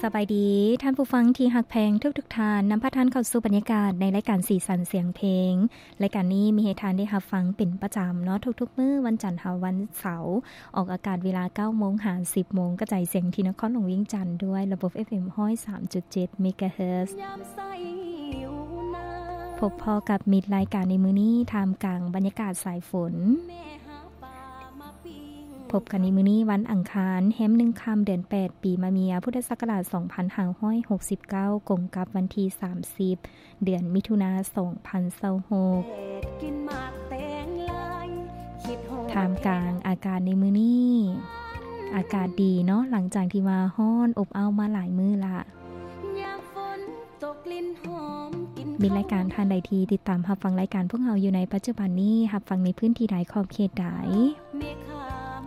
ສະບາຍດີ ທ່ານຜູ້ຟັງທີ່ຮັກແພງທຸກໆທ່ານ, ນຳພາທ່ານເຂົ້າສູ່ບັນຍາກາດໃນລາຍການສີສັນສຽງເພງ. ລາຍການນີ້ມີໃຫ້ທ່ານໄດ້ຮັບຟັງເປັນປະຈຳເນາະ ທຸກໆມື້ວັນຈັນຫາວັນເສົາ, ອອກອາກາດເວລາເກົ້າໂມງຫາສິບໂມງ, ກະຈາຍສຽງທີ່ນະຄອນຫຼວງວຽງຈັນດ້ວຍລະບົບ ເອັຟເອັມ ຮ້ອຍສາມຈຸດເຈັດ ເມກາເຮີດ. ພົບພໍ້ກັບມິດລາຍການໃນມື້ນີ້ ທ່າມກາງບັນຍາກາດສາຍຝົນ. ພົບກັນໃນມື້ນີ້ວັນອັງຄານ ແຮມໜຶ່ງຄ່ຳ ເດືອນແປດ ປີມະເມຍ ພຸດທະສັກກະລາດ ສອງພັນຫ້າຮ້ອຍຫົກສິບເກົ້າ ກົງກັບວັນທີ ສາມສິບ ເດືອນມິຖຸນາ ສອງພັນຊາວຫົກ. ທ່າມກາງອາກາດໃນມື້ນີ້ ອາກາດດີເນາະ ຫຼັງຈາກທີ່ວ່າຮ້ອນອົບອ້າວມາຫຼາຍມື້ລະ. ມີລາຍການທ່ານໃດທີ່ຕິດຕາມຮັບຟັງລາຍການພວກເຮົາຢູ່ໃນປັດຈຸບັນນີ້ ຮັບຟັງໃນພື້ນທີ່ໃດ ຂອບເຂດໃດ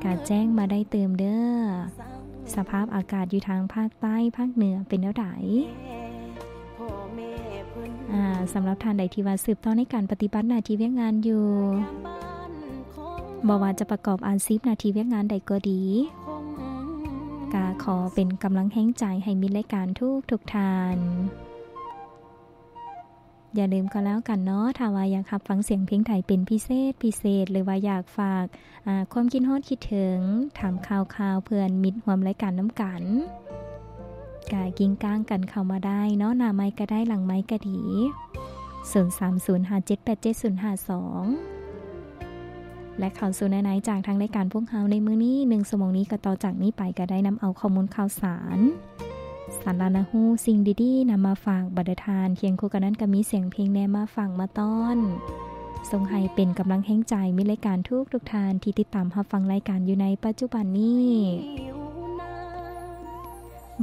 ກະແຈ້ງມາໄດ້ຕື່ມເດີ້. ສະພາບອາກາດຢູ່ທາງພາກໃຕ້ ພາກເໜືອເປັນແນວໃດ? ອາ ສຳລັບທ່ານໃດທີ່ວ່າສືບຕໍ່ໃນການປະຕິບັດໜ້າທີ່ວຽກງານຢູ່ ບໍ່ວ່າຈະປະກອບອາຊີບໜ້າທີ່ວຽກງານໃດກໍດີ ກະຂໍເປັນກຳລັງແຮງໃຈໃຫ້ມິດລາຍການທຸກໆທ່ານ. ຢ່າລືມກໍແລ້ວກັນເນາະ ຖ້າວ່າຢາກຮັບຟັງສຽງເພງໄທເປັນພິເສດ ພິເສດ ຫຼືວ່າຢາກຝາກ ອາ ຄວາມຄິດຮອດຄິດເຖິງ ຖາມຂ່າວຄາວເພື່ອນມິດຮ່ວມລາຍການນຳກັນ ກະກິ້ງກ້າງກັນເຂົ້າມາໄດ້ເນາະ ໜ້າໄມກະໄດ້ ຫຼັງໄມກະດີ ສູນສາມສູນຫ້າເຈັດແປດເຈັດສູນຫ້າສອງ. ແລະ ເຂົ້າສູ່ເນື້ອໃນຈາກທາງລາຍການພວກເຮົາໃນມື້ນີ້ ໜຶ່ງຊົ່ວໂມງນີ້ ກໍຕໍ່ຈາກນີ້ໄປກໍໄດ້ນຳເອົາຂໍ້ມູນຂ່າວສານ ສາລະໜ້າຮູ້ ສິ່ງດີໆນຳມາຝາກບັນດາທ່ານ, ຄຽງຄູ່ກັນນັ້ນກໍມີສຽງເພງແດ່ມາຝາກມາຕ້ອນ ສົ່ງໃຫ້ເປັນກຳລັງແຮງໃຈມິດລາຍການທຸກໆທ່ານທີ່ຕິດຕາມຮັບຟັງລາຍການຢູ່ໃນປັດຈຸບັນນີ້.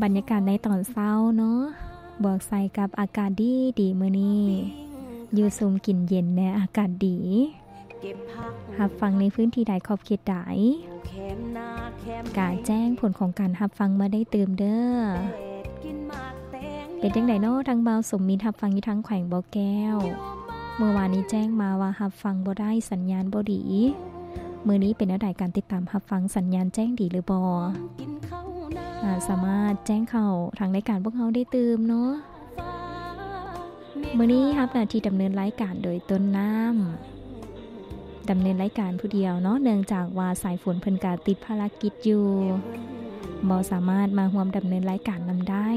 ບັນຍາກາດໃນຕອນເຊົ້າເນາະ ບວກໃສ່ກັບອາກາດດີໆມື້ນີ້ ຢູ່ຊຸ່ມກິນເຢັນແດ່ ອາກາດດີ. ຮັບຟັງໃນພື້ນທີ່ໃດ ຂອບເຂດໃດ ກະແຈ້ງຜົນຂອງການຮັບຟັງມາໄດ້ຕື່ມເດີ້. ເປັນຈັ່ງໃດເນາະ ທາງບ່າວສົມມິດ ຮັບຟັງຢູ່ທາງແຂວງບໍ່ແກ້ວ ເມື່ອວານນີ້ແຈ້ງມາວ່າຮັບຟັງບໍ່ໄດ້ ສັນຍານບໍ່ດີ. ມື້ນີ້ເປັນແນວໃດ ການຕິດຕາມຮັບຟັງ ສັນຍານແຈ້ງດີຫຼືບໍ່? ອາ ສາມາດແຈ້ງເຂົ້າທາງລາຍການພວກເຮົາໄດ້ຕື່ມເນາະ. ມື້ນີ້ຮັບໜ້າທີ່ດຳເນີນລາຍການໂດຍຕົ້ນນ້ຳ ດຳເນີນລາຍການຜູ້ດຽວເນາະ ເນື່ອງຈາກວ່າສາຍຝົນເພິ່ນກະຕິດພາລະກິດຢູ່ ບໍ່ສາມາດມາຮ່ວມດຳເນີນລາຍການນຳໄດ້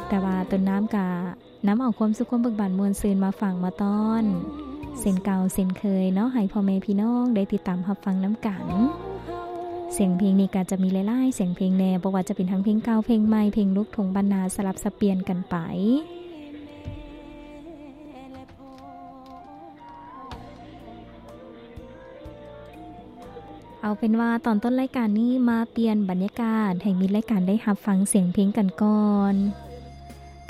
ແຕ່ວ່າຕົ້ນນ້ຳກະນຳເອົາຄວາມສຸກ ຄວາມເບີກບານມ່ວນຊື່ນມາຝາກມາຕ້ອນ ເຊັ່ນເກົ່າເຊັ່ນເຄີຍເນາະ ໃຫ້ພໍ່ແມ່ພີ່ນ້ອງໄດ້ຕິດຕາມຮັບຟັງນຳກັນ. ສຽງເພງນີ້ກະຈະມີຫຼາຍໆສຽງເພງແດ່ ບໍ່ວ່າຈະເປັນທັງເພງເກົ່າ ເພງໃໝ່ ເພງລູກທົ່ງບ້ານນາ ສະຫຼັບສັບປ່ຽນກັນໄປ. ເອົາເປັນວ່າຕອນຕົ້ນລາຍການນີ້ມາປ່ຽນບັນຍາກາດ ໃຫ້ມິດລາຍການໄດ້ຮັບຟັງສຽງເພງກັນກ່ອນ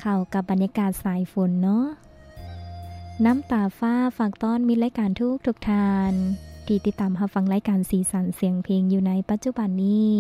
ເຂົ້າກັບບັນຍາກາດສາຍຝົນເນາະ. ນ້ຳຕາຟ້າຝາກຕ້ອນມິດລາຍການທຸກໆທ່ານ ທີ່ຕິດຕາມຮັບຟັງລາຍການສີສັນສຽງເພງຢູ່ໃນປັດຈຸບັນນີ້.